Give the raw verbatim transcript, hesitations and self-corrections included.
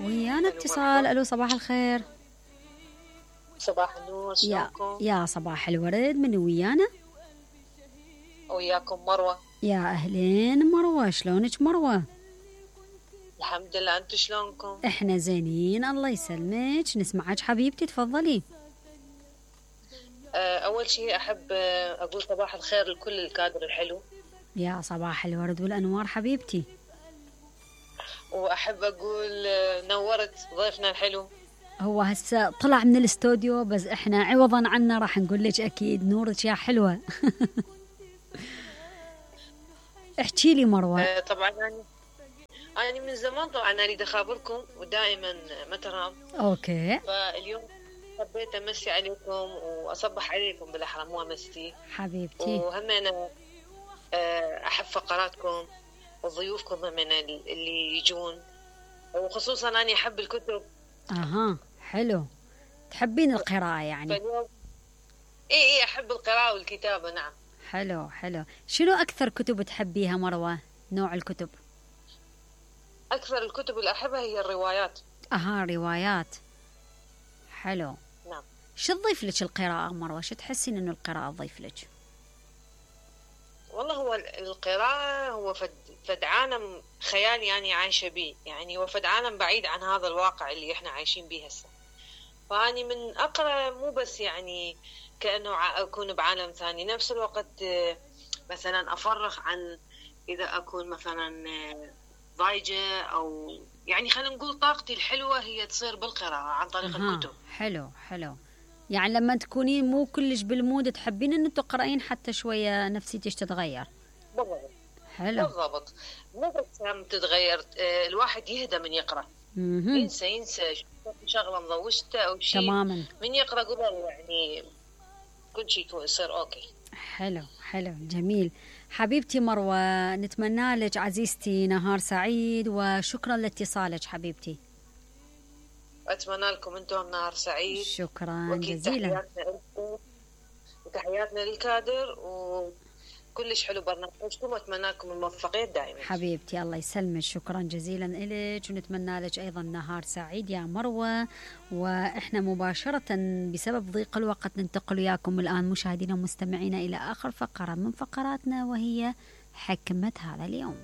ويانا ألو اتصال. مرحبا. الو صباح الخير. صباح النور، يا شلونكم؟ يا صباح الورد، من ويانا؟ وياكم مروة. يا اهلين مروة، شلونك مروة؟ الحمد لله، انتم شلونكم؟ احنا زينين الله يسلمك. نسمعك حبيبتي، تفضلي. آه، اول شيء احب آه، اقول صباح الخير لكل الكادر الحلو، يا صباح الورد والانوار حبيبتي. واحب اقول آه، نورت ضيفنا الحلو. هو هسه طلع من الاستوديو، بس احنا عوضا عنه راح نقول لك اكيد نورك يا حلوة. احكي لي مروة. آه، طبعا انا انا من زمان طبعا اريد اخابركم ودائما ما ترام، اوكي فاليوم حبيت امسي عليكم واصبح عليكم بالاحرى، مو امسي. حبيبتي. وهم انا آه، احب فقراتكم وضيوفكم هم اللي يجون، وخصوصا أنا أحب الكتب. اها حلو، تحبين القراءة يعني؟ فاليوم إيه إيه أحب القراءة والكتابة، نعم. حلو حلو. شنو أكثر كتب تحبيها مروة؟ نوع الكتب؟ أكثر الكتب اللي أحبها هي الروايات. اها روايات، حلو. نعم. شو تضيف لك القراءة مروة؟ شو تحسين إنه القراءة تضيف لك؟ والله هو القراءة هو فد, فد عالم خيالي يعني عايشة بيه، يعني هو فد عالم بعيد عن هذا الواقع اللي إحنا عايشين بيه هسه. فأني من أقرأ مو بس يعني كأنه أكون بعالم ثاني، نفس الوقت مثلا أفرغ عن إذا أكون مثلا ضايجة أو يعني خلينا نقول طاقتي الحلوة هي تصير بالقراءة عن طريق أها. الكتب. حلو حلو. يعني لما تكونين مو كلش بالمود تحبين إنه تقرأين حتى شوية نفسيتك تتغير. بالضبط. حلو. بالضبط، مو بس هم تتغير، الواحد يهدى من يقرأ. مهم. ينسى ينسى شغلة مضوجته أو شيء تماما. من يقرأ قبل يعني كل شيء يصير أوكي. حلو حلو جميل. حبيبتي مروة، نتمنى لك عزيزتي نهار سعيد، وشكرا لاتصالك حبيبتي. أتمنى لكم أنتم نهار سعيد. شكرا جزيلا. تحياتنا لكم وتحياتنا للكادر، وكلش حلو برنامجكم، وأتمنى لكم الموفقية دائما حبيبتي الله يسلمك، شكرا جزيلا لك، ونتمنى لك أيضا نهار سعيد يا مروة. وإحنا مباشرة بسبب ضيق الوقت ننتقل وياكم الآن مشاهدينا ومستمعينا إلى آخر فقرة من فقراتنا، وهي حكمة هذا اليوم.